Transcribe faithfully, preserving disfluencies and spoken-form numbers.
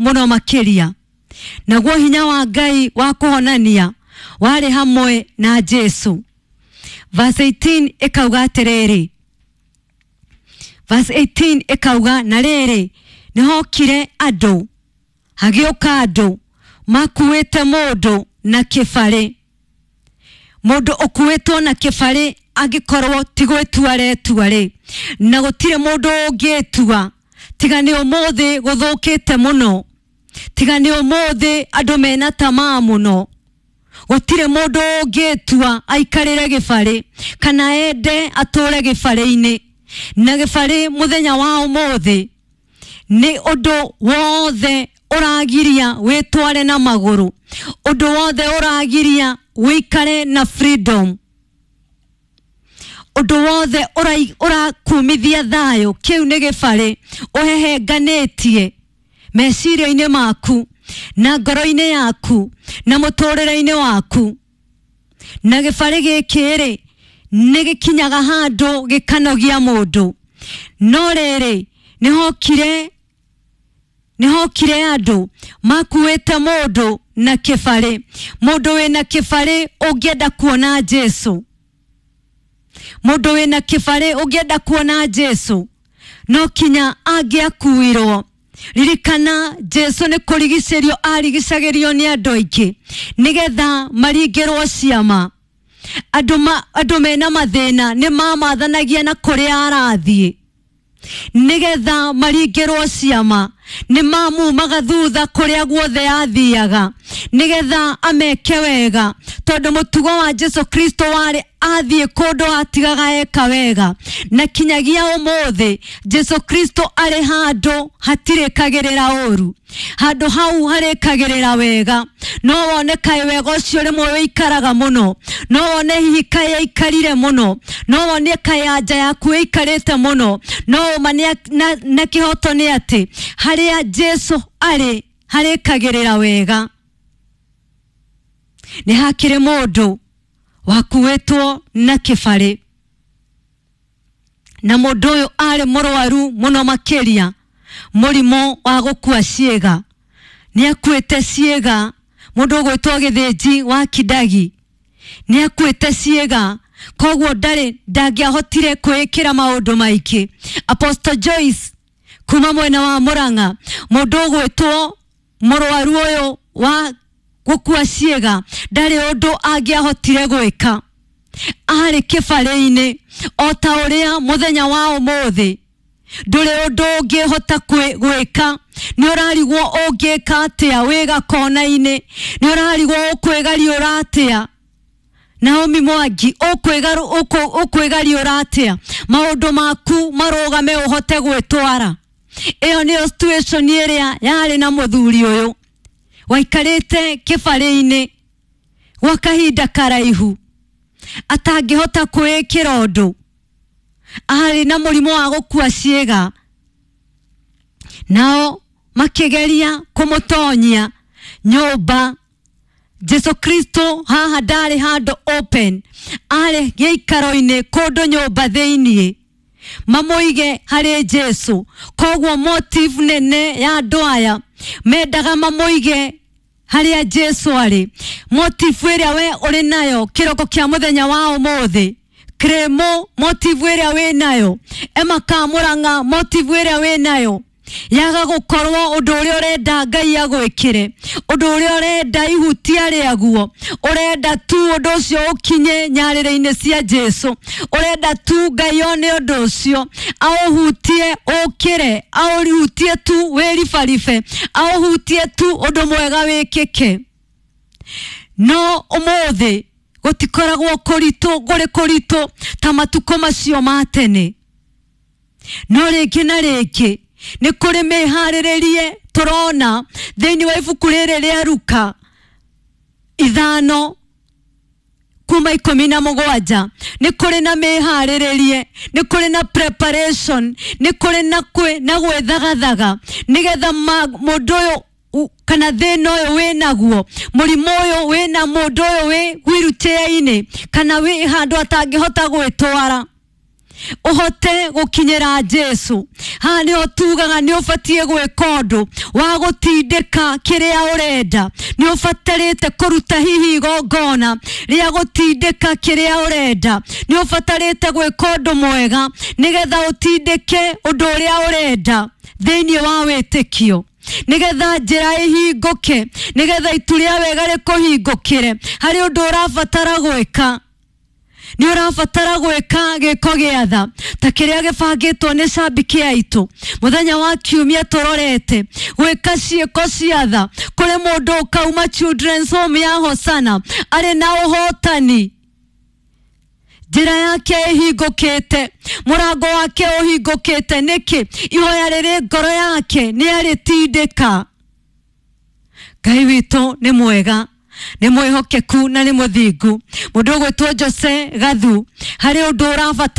Mũno makĩria. Naguo hinya wa Ngai wa kũhonania warĩ hamwe na Jesu. Verse eighteen ĩkauga atĩrĩrĩ, verse eighteen ĩkauga, na rĩrĩ, nĩhokire andũ, hagĩũka andũ makuĩte mũndũ na kĩbarĩ. Mũndũ ũkuĩtwo na kĩbarĩ angĩkorwo ti gwĩtua aretua rĩ, na gũtirĩ mũndũ ũngĩtua tiga nĩ ũmũthĩ gũthũkĩte mũno, tiga nĩ ũmũthĩ andũ mena tamaa mũno. Gũtirĩ mũndũ ũngĩtua aikarĩre gĩbarĩ kana ende atũre gĩbarĩ-inĩ. Na gĩbarĩ mũthenya wa ũmũthĩ nĩ ũndũ wothe ũragiria wĩtware na magũrũ, ũndũ wothe ũragiria wĩikare na freedom, ũndũ wothe ũrakumithia thayũ, kĩu nĩ gĩbarĩ ũhehenganĩtie meciria-inĩ maku na ngoro-inĩ yaku na mũtũrĩre-inĩ waku. Na gĩbarĩ gĩkĩ rĩ, nĩ gĩkinyaga handũ gĩkanogia mũndũ. No rĩrĩ, nĩhokire nĩhokire andũ makuĩte mũndũ na kĩbarĩ. Mũndũ wĩna kĩbarĩ ũngĩenda kuona Jesu, mũndũ wĩna kĩbarĩ ũngĩenda kuona Jesu no kinya angĩakuirwo. Ririkana Jesu nĩ kũrigicĩrio arigicagĩrio nĩ andũ aingĩ nĩgetha maringĩrwo ciama. Andũ ma, andũ mena mathĩna nĩ mamathanagia na kũrĩa arathiĩ nĩgetha maringĩrwo ciama. Nĩ mamumaga thutha kũrĩa guothe athiaga nĩgetha ameke wega, tondũ mũtugo wa Jesu Kristo warĩ athiĩ kũndũ atigaga eka wega. Na kinyagia ũmũthĩ Jesu Kristo arĩ handũ hatirĩkagĩrĩra ũru, handũ hau harĩkagĩrĩra wega. No wone kaĩ wega ũcio rĩmwe wĩikaraga mũno, no wone hihi kaĩ aikarire mũno, no wone kaĩ anja yaku ĩikarĩte mũno, no ũma na, na kĩhoto nĩ atĩ harĩa Jesu arĩ harĩkagĩrĩra wega. Nĩ hakĩrĩ mũndũ wakuĩtwo na kĩbarĩ, na mũndũ ũyũ arĩ mũrwaru mũno makĩria, mũrimũ wa gũkua ciĩga. Nĩ akuĩte ciĩga, mũndũ ũgwĩtwo Gĩthĩnji wa Kidagi nĩ akuĩte ciĩga, koguo ndarĩ ndangĩahotire kwĩĩkĩra maũndũ maingĩ. Apostle Joyce kuma mwena wa Murang'a, mũndũ ũgwĩtwo mũrwaru ũyũ wa gũkua ciĩga ndarĩ ũndũ angĩahotire gwĩka, arĩ kĩbarĩ-inĩ o ta ũrĩa mũthenya wa ũmũthĩ ndũrĩ ũndũ ũngĩhota gwĩka. Nĩ ũrarigwo ũngĩka atĩa wĩ gakona-inĩ, nĩ ũrarigwo ũkwĩgariũra atĩa. Naomi Mwangi, ũkwĩgariũra atĩa maũndũ maku marũgame ũhote gwĩtwara. Ĩyo nĩyo situation ĩrĩa yarĩ na mũthuri ũyũ waikarĩte kĩbarĩ-inĩ gwa kahinda karaihu atangĩhota kwĩĩkĩra ũndũ, arĩ na mũrimũ wa gũkua ciĩga. Nao makĩgeria kũmũtonyia nyũmba. Jesu Kristo haha ndarĩ handũ open, arĩ gĩikaro-inĩ kũndũ nyũmba thĩiniĩ, mamũige harĩ Jesu. Koguo motive nene ya andũ aya mendaga mamũige harĩa Jesu arĩ. Motive ĩrĩa we ũrĩ nayo kĩroko kĩa mũthenya wa ũmũthĩ, Kremo, motive ĩrĩa wĩ nayo, Emma Kamũrang'a, motive ĩrĩa wĩ nayo yaga gũkorwo ũndũ ũrĩa ũrenda Ngai agwĩkĩre, ũndũ ũrĩa ũrenda ihutia rĩaguo, ũrenda tu ũndũ ũcio ũkinye nyarĩrĩ-inĩ cia Jesu, ũrenda tu Ngai one ũndũ ũcio aũhutie ũkĩre, aũhutie tu wĩribaribe, aũhutie tu ũndũ mwega wĩkĩke. No ũmũthĩ gũtikoragwo kũritũ, kũrĩ kũritũ ta matukũ macio ma tene. No rĩngĩ na rĩngĩ nĩ kũrĩ mĩharĩrĩrie tũrona thĩinĩ wa ibuku rĩrĩ rĩa Luka ithano kuma ikũmi na mũgwanja. Nĩ kũrĩ na mĩharĩrĩrie, nĩ kũrĩ na preparation, nĩ kũrĩ na kwĩ na gwĩthagathaga nĩgetha mũndũ ũyũ kana thĩna ũyũ wĩnaguo, mũrimũ ũyũ wĩna mũndũ ũyũ wĩ wheelchair-inĩ kana wĩ handũ atangĩhota gwĩtwara, Ũhote gũkinyĩra Jesu. Haha nĩho tugaga nĩ ũbatiĩ gwĩka ũndũ wa gũtindĩka kĩrĩa ũrenda. Nĩ ũbatarĩte kũruta hihi igongona rĩa gũtindĩka kĩrĩa ũrenda. Nĩ ũbatarĩte gwĩka ũndũ mwega nĩgetha ũtindĩke ũndũ ũrĩa ũrenda thĩinĩ wa wĩtĩkio, nĩgetha njĩra ĩhingũke, nĩgetha itu rĩa wega rĩkũhingũkĩre. Harĩ ũndũ ũrabatara gwĩka. Nĩ ũrabatara gwĩka gĩko gĩa tha ta kĩrĩa gĩbangĩtwo nĩ cambiki aitũ mũthenya wa kiumia. Tũrorete gwĩka ciĩko cia tha kũrĩ mũndũ ũkauma Children's Home ya Hosana arĩ na ũhotani, njĩra yake ĩhingũkĩte, mũrango wake ũhingũkĩte. Nĩkĩ? Ihoya rĩrĩ ngoro yake nĩ arĩtindĩka. Ngai witũ nĩ mwega, nĩ mwĩhokeku na nĩ mũthingu. Mũndũ ũgwĩtwo Jose Gathu, harĩ ũndũ ũrabatara.